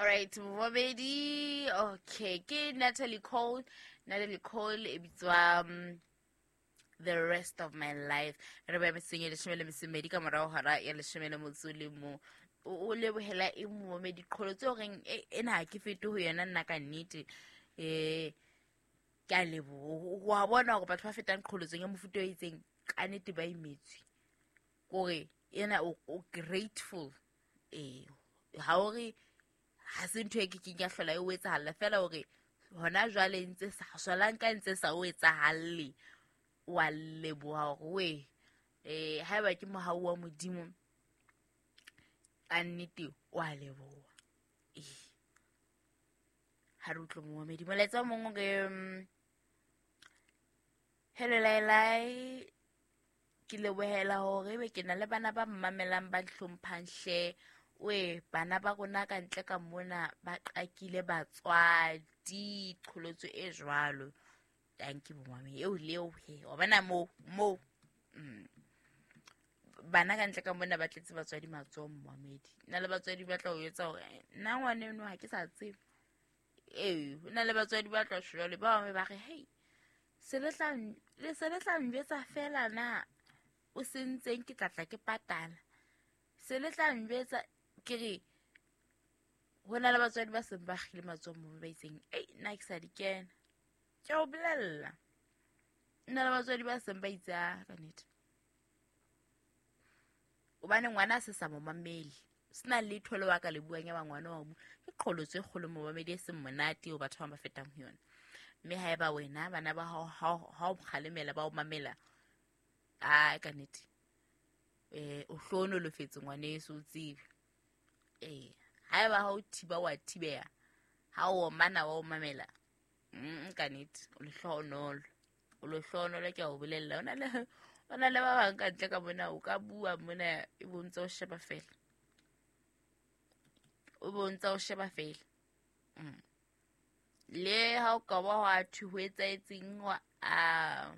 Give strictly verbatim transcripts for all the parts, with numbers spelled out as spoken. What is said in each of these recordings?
Alright, momamedi, okay, ke Natalie Cole. Natalie Cole e bitswa um, The Rest of My Life. Re ba metseng ya leshome le metso e mmedi ka morao hora ya leshome le motso le mo. O lebohela e momamedi qholotso e horeng ena ha ke fete ho yona nna ka nnete. Eh ke a leboha. Wa bona hore batho ba fetang qholotsong ya mofuta o itseng ka nnete ba imetswe. Kore ena o grateful. Eh ha o re ha se ntho e ke keng ya hlola e o etsahalla fela hore hona jwale ntse sa solang ka ntse sa o etsahalle, wa leboha hore we eh haeba ke mohau wa Modimo ka nnete wa leboha. Eh ha re utlwe momamedi molaetsa o mong o re, hello Lailai, ke lebohela hore ebe ke na le bana ba mmamelang ba hlomphang hle. We bana ba rona ka ntle ka mona ba qakile batswadi qholotso e jwalo. Thank you mommy eo leo he wa bona mo mo mm. Bana ka ntle ka mona ba tletse batswadi matsoho momamedi. Nna le batswadi ba tla o etsa hore nna ngwana eno ha ke sa tsebe. Eh nna le batswadi ba tla shwa le ba bangwe ba re hey se le tla le se le tla njwetsa fela na o sentseng ke tla tla ke patala. Se le tla njwetsa ke re ho na le batswadi ba seng ba kgile matsoho mo ba itseng ei nna ke sa di kena. Ke o bolella nna le batswadi ba seng ba itse a ka nnete hobane ngwana a se sa mo mamele, sena letho le wa ka le buang ya ba ngwana wa mo ke qholotso e kgolo momamedi e seng monate eo batho ba ba fetang ho yona. Mme haeba wena bana ba hao ha o kgalemela ba o mamela a ka nnete eh o hlohonolofetse ngwaneso o tsebe. Eh haeba ha o thiba wa thibeha, ha o omana wa o mamela mm ka nnete o lehlohonolo, o lehlohonolo ke a o bolella. O na le o na le ba bang ka ntle ka mona o ka bua mona e bontsa o sheba fela, o bontsa o sheba fela. Mm le ha o ka ba wa thwe ho etsaetseng wa a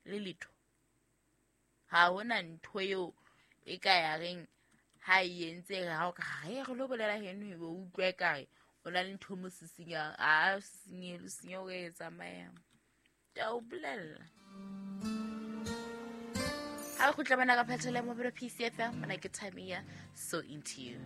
le letho, ha hona ntho eo e ka ya reng ha e entse ha o ka re re lo bolela heno e bo utlwe ka re o na le ntho mo sisinyang a sisinye le sinye o e tsamayang. Ke a o bolella ha o kgutla bana ka phethela mobile P C F M mona ke time ya So Into You.